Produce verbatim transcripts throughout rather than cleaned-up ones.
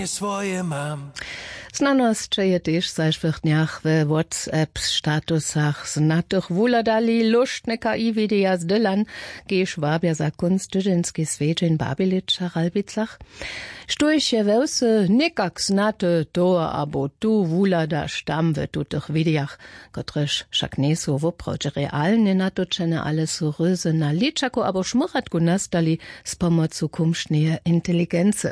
swoje mam. Znanosće je tež w zašłych dnjach we WhatsApp statusach znatych wuhladali lóštne K I-wideja z Dylan, kiž wabja za kónc tydźenski swjedźeń w Babiličach a Ralbicach. Štóž je we wsy někak znate, to abo tu wuhladaš tam w tutych widejach, kotrež wšak njejsu woprawdźe realnje natočene, ale su ryzy na ličaku abo šmyratku nastali z pomocu kumšneje inteligency.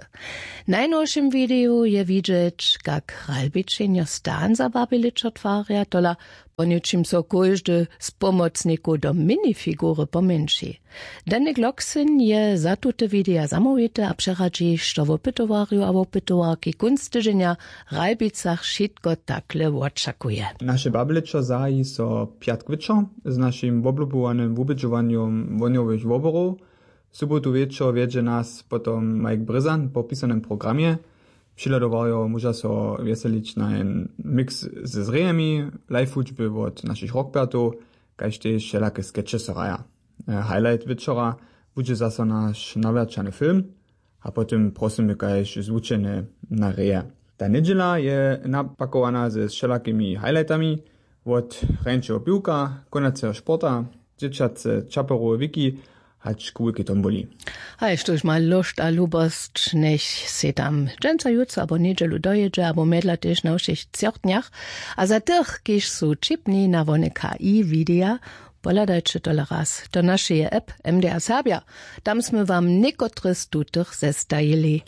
W najnowšim wideju je widźeć, kak Ralbičenjo stan za Babiličo twarja, tola po něčim so kóždy z pomocnikow do minifigury pomjeńši. Dany Glocksen je za tute wideja zamołwity a přeradźi, što wopytowarjow a wopytowarki kónc tydźenja w Ralbicach wšitko takle wočakuje. Naše Babiličo zahaji so pjatk wječor z našim woblubowanym wubědźowanjom wohnjowych woborow. W sobotu wječor wjedźe nas potom Mike Brězan po pisanym programje. Přihladowarjo móža so wjeselić na jen mix ze zrejemi, live wučby wot našich rockpertow, kaž tež wšelake skeče so hraja. E, highlight wječora budźe zaso naš nawjaćany film a potom prosymy kaž zwučene na reje. Ta njedźela je napakowana ze wšelakimi highlightami, wot hrjeńšeho piwka, konaceho sporta, dźěćace čaperowe wiki hač k wulkej tombuli. Haj, štóž ma lóšt a lubosć, njech sej tam dźensa, jutře abo njedźelu dojědźe abo mjedla tež na wšěch třoch dnjach. A za tych, kiž su ćipni na wone K I-wideja, pohladajće tole raz do našeje app M D R Serbja. Tam smy wam někotre z tutych zestajili.